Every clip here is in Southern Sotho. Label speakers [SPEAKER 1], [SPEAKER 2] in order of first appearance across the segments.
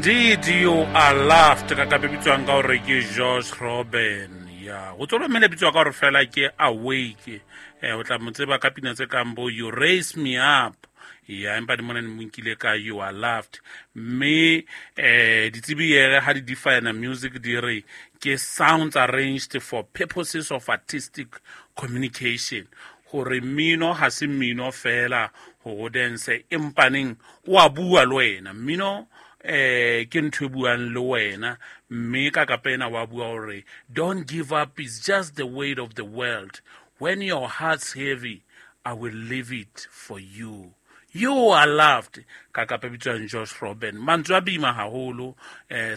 [SPEAKER 1] Indeed you are loved ka kape bitswang ka gore ke George Robin ya go tswelwa mme le bitswa ka gore fela ke awake. O tla mo tseba ka pina tse kang bo You Raise Me Up ya, empa di mona ne mo nkile ka You Are Loved. Mme ditsebi ere ha di define music di re ke sounds arranged for purposes of artistic communication, gore mmino ha se mmino fela go dance, empaneng o a bua le wena. Mmino ke ntho e buang le wena, mme ka kapena wa bua hore don't give up, is just the weight of the world. When your heart's heavy, I will leave it for you. You are loved. Ka kapa bitswang Josh Robin. Mantswe a boima haholo.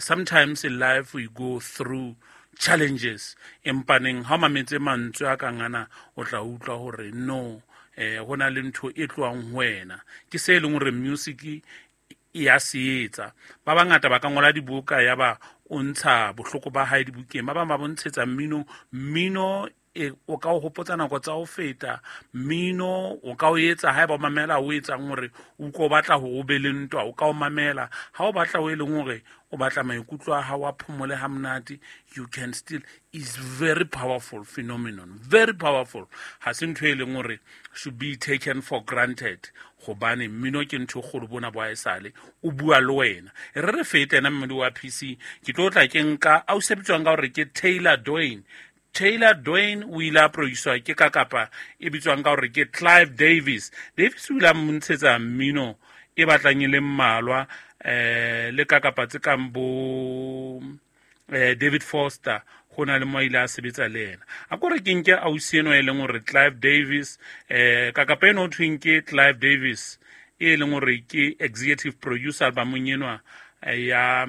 [SPEAKER 1] Sometimes in life we go through challenges, empaneng ha o mametse mantswe a kang ana, o tla utlwa hore no, ho na le ntho e tlohang ho wena. Ke se e leng hore music e ya se etsa. Ba bangata ba ka ngola dibuka ya ba o ntsha bohloko ba hae dibukeng, ba bang ba bontshetsa mmino. Mmino e o ka o hopotsa nako tsa ho feta, mmino o ka o etsa haeba o mamela o etsang hore o utlwe o batla hore o be le ntwa, o ka o mamela ha o batla o e leng hore o batla maikutlo a hao a phomole ha monate. You can still is very powerful phenomenon, very powerful. Ha se ntho e leng hore should be taken for granted, hobane mmino ke ntho e kgolo bona bo haesale o bua le wena. E re re fete ena mmino wa PC, ke tlo tla ke nka a o sebetswang ka hore ke Taylor Doane. Taylor Doane o ile a producer ke ka kapa e bitswang ka hore ke Clive Davis. Davis o ile a montshetsa mmino e batlang e le mmalwa, le ka kapa tse kang bo David Foster, ho na le mo ile a sebetsa le yena. A ko re ke nke ausi eno e leng hore Clive Davis, ka kapa eno ho thweng ke Clive Davis, e leng hore ke executive producer albumong enwa ya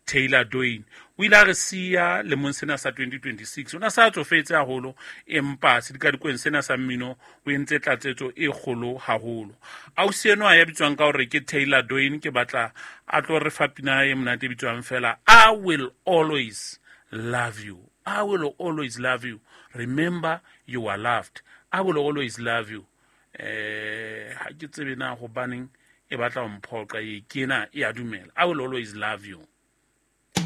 [SPEAKER 1] Taylor Doane. O ile a re siya lemong sena sa 2026. O na sa tsofetse haholo, empa sedikadikweng sena sa mmino o entse tlatsetso e kgolo haholo. Ausi enwa ya bitswang ka hore ke Taylor Doane, ke batla a tlo re fa pina e monate e bitswang fela I Will Always Love You. I will always love you. Remember you are loved. I will always love you. Ha ke tsebe na hobaneng e batla ho mphoqa e kena e a dumela. I will always love you.